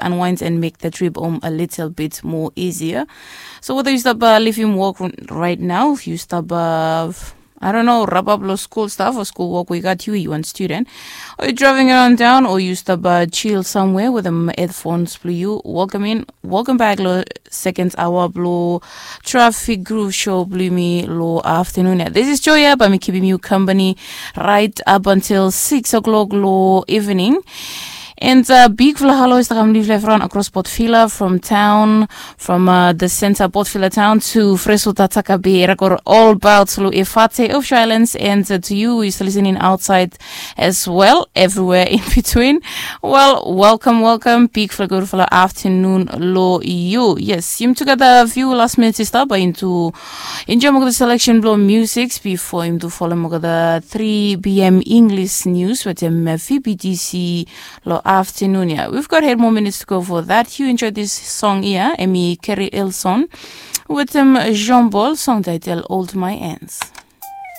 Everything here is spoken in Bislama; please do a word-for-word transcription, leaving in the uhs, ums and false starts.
unwind and make the trip home a little bit more easier. So whether yu stap uh, leave him work right now, yu stap uh, I don't know, wrap up lo school stuff or school work we got you, you one student, or you driving around town, or you stop uh, chill somewhere with the headphones blue you. Welcome in, welcome back lo second hour blue traffic groove show blue me lo afternoon. Yeah, this is Joya, but me keeping you company right up until six o'clock lo evening. And uh, big fala hello is takam live live run across Port Vila from town, from uh, the center Port Vila town to Fresno Tatakabe, Rakor all about Sulu Efate of Islands, and uh, to you is listening outside as well, everywhere in between. Well, welcome, welcome. Big fala good fala afternoon lo you. Yes, you together view last minute is stop into enjoy the selection blow music before him to follow the three p.m. English news with him V B T C lo afternoon. Yeah, we've got eight more minutes to go for that. You enjoy this song here, Emi Kerry Elson with him Jean Paul song title Hold My Hands.